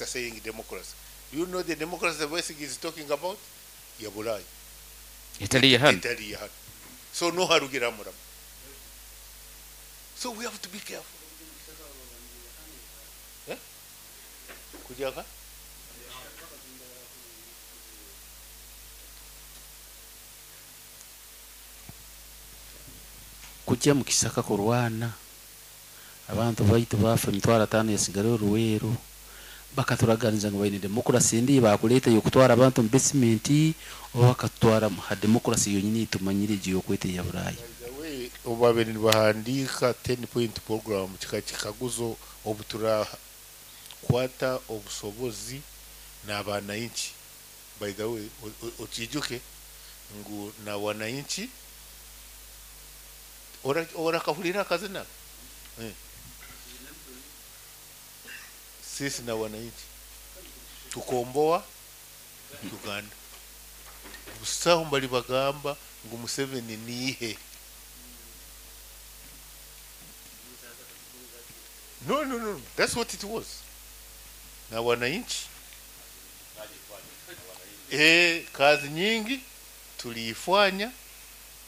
saying democracy. Do you know the democracy Besigye is talking about? Ya Burayi. Etali ya hanu. Etali ya hanu. So no harugira murama. So we have to be careful. Eh? Kujaka? Kujya mu kisaka kurwana abantu baitu bafa 500 yasigara oruweero bakaturaganiza ngu baine demokrasi ndi bakuleeta yokutwara abantu mu basement oba bakatutwara ha demokrasi yonyini tumanyire egi yokweta eya Buraaya. By the way, obu nibahandiika 10 point program kika kikaguzo obu turakwata obusobozi n'abananchi. By the way, okiijuke ngu na wananchi orakahurira akazina Sisi na wananchi tukomboa Uganda. Busaho mbali bagamba ngu Museveni nihe. No, no, no, that's what it was. Na wananchi kazi nyingi tuliifanya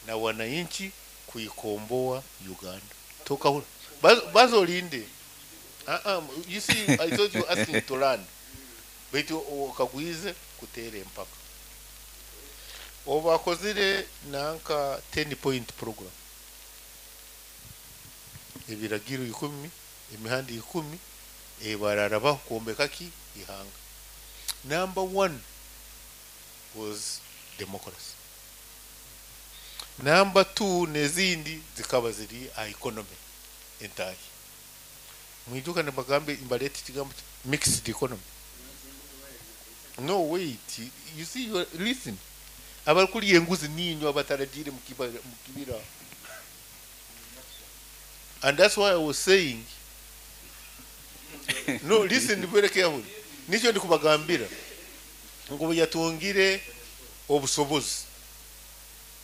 na wananchi kuikomboa Uganda. Toka hula. Bazo linde. You see, I thought you asking to learn. Baitu okagwize kutere empaka. Obakozire nanka 10 point program. Ebiragiro 10, emihanda 10, ebararabaho kwombeka ki ihanga. Number 1 was democracy. Number 2 nezindi zikaba ziri a economy entahi. Mwijuka nibagambe imbaleti kigambo mixed economy. No, wait. You see, you are, listen. Abakuri enguzi ninyo abatarajire mukibira. And that's why I was saying, no, listen very carefully. Nicho ndikubagambira. Ngo yatungire obusobozi.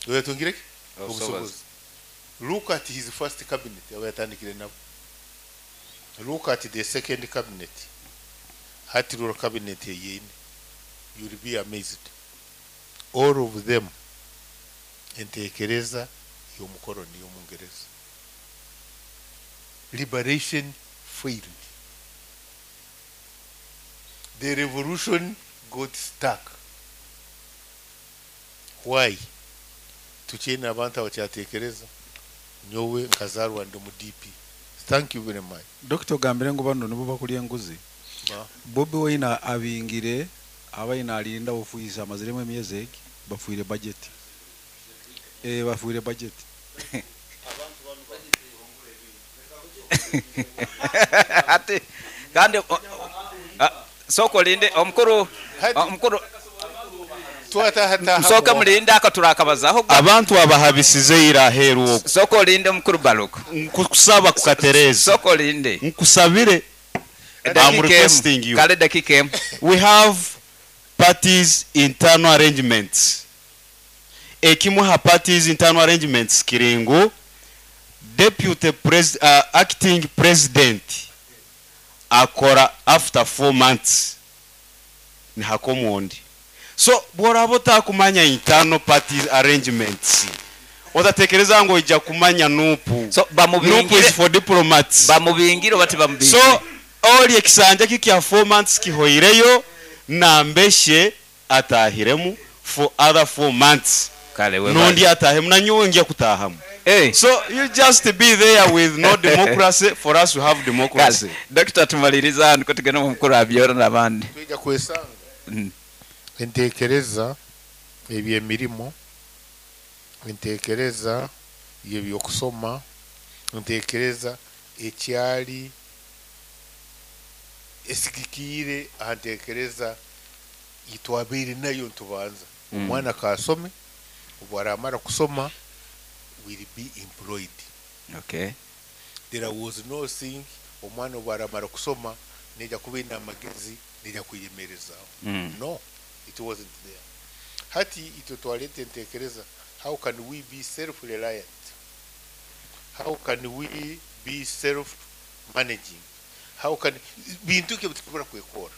Yatungire obusobozi. Look at his first cabinet abayatandikire nabo. Look at the second cabinet. Hatirura cabinet yeyine. You will be amazed. All of them entekereza y'omukoroni y'omungereza. Liberation failed. The revolution got stuck. Why? Tukyine abantu abakyatekereza nyowe nkazarwa ndi mu DP. Thank you very much. Dr. Gambire ngo bano nibo bakulya enguzi. Bobi Wine abingire abayina alinda ofuisa amaziremu emyezi egi bafuire budget. Bafuire budget. Ati kandi soko linde omukuru omukuru soka mulinde akaturakabazaho abantu abahabisize iraheru okwo. Soko linde omukuru Baluku. Nkusaba kukatereza. Soko linde. Nkusabire. I'm requesting you. Kale dakika emu. We have parties internal arrangements. Ekimu ha parties internal arrangements kiringu deputy acting president akora after 4 months ni hakomondi. So bworaba otakumanya internal party arrangements otatekereza ngo ija kumanya nupu. So bamubingire, nupu is for diplomats. Bamubingire bati bamubingire. So oli ekisanja kikya 4 months kihoireyo nambeshe atahiremu for other 4 months. Kale we nundi atahemu na nyowe ngiye kutahamu. Hey. So you just be there with no democracy for us to have democracy. Dr. tumaliriza hano ko tugenda mu mukuru abyora nabandi. Twijja kwesanga. Entekereza ebyemirimo, entekereza ebyokusoma, entekereza ekyali esigikiire ahantekereza itwabeire nayo ntubanza. Omwana kasome, obwaramara kusoma will be employed. Okay. There was no thing omwana obwaramara kusoma neja kuba amagezi neja kuyemerezaaho. No, it wasn't there. Hati itwe twaleta entekereza, how can we be self-reliant? How can we be self-managing? How can bintu ki bitukubura kwekora?